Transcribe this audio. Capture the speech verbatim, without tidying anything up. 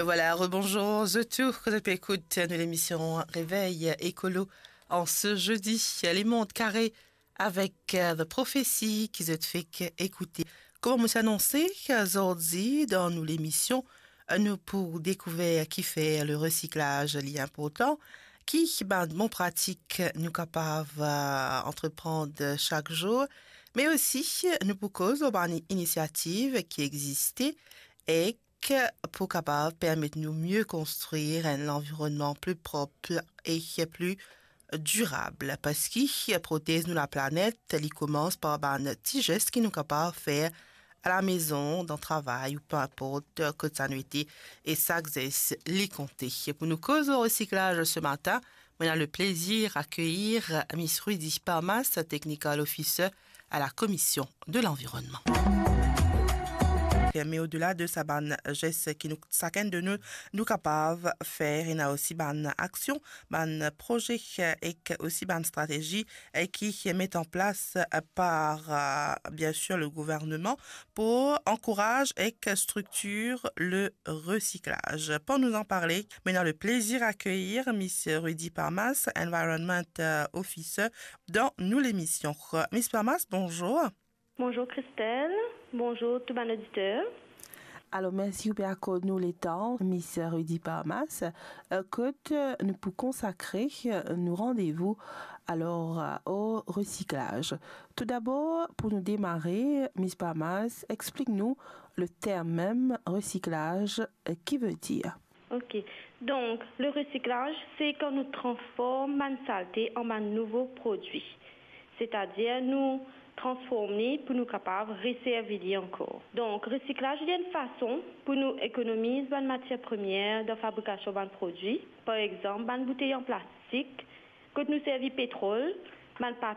Voilà, rebonjour zot tou, kot zot pe ekout nou lemision Réveil Écolo an se zedi, Lemond Kare avek, euh, The Prophecy ki zot fek ekoute. Kouma mo ti anonse, zordi dan nou lemision, nou pou dekouver kifer le resiklaz li inportan, ki bann bon pratik nou kapav, euh, antreprann sak zour, me osi nou pou koz lor bann inisiativ ki existe ek pou kapav permet nou mie konstrir enn lanvironnman pli prop e pli dirab, parski protez nou laplanet, li koumans par bann ti zes ki nou kapav fer alamezon, dan travay ou pe inport kot sa nou ete, e sak zes li konte. Pou nou koz lor resiklaz se matin, mo ena le plezir akeyir Miss Rudy Parmas, Technical Officer à la Commission de l'Environnement. Me odela de sa bann zes ki nou, sakenn de nou, nou kapav fer, ena osi bann aksion, bann proze ek osi bann stratezi, eh, ki met an plas, eh, par, eh, bien sûr, le gouvernement pou ankouraz ek striktir le resiklaz. Pou nou an parle, mo ena le plezir akeyir Miss Rudy Parmas, Environment, eh, Officer, dan nou lemision. Miss Parmas, bonjour. Bonjour Christelle, bonjour tou bann oditer. Alor, mersi ou pe akord nou letan, Miss Rudy Parmas, eh, kot, eh, nou pou konsakre, eh, nou randevou, alor, eh, o resiklaz. Toudabor, pou nou demare, Miss Parmas, explik nou le term mem resiklaz, eh, ki vedir. Ok. Donk, le resiklaz, se kan nou transform bann salte an bann nouvo prodwi. Setadir, nou transform li pou nou kapav reservi li ankor. Donk, resiklaz, li enn fason pou nou ekonomiz bann matier premier dan fabrikasion bann prodwi. Par exanp, bann boutey an plastik, kot nou servi petrol, bann pa-,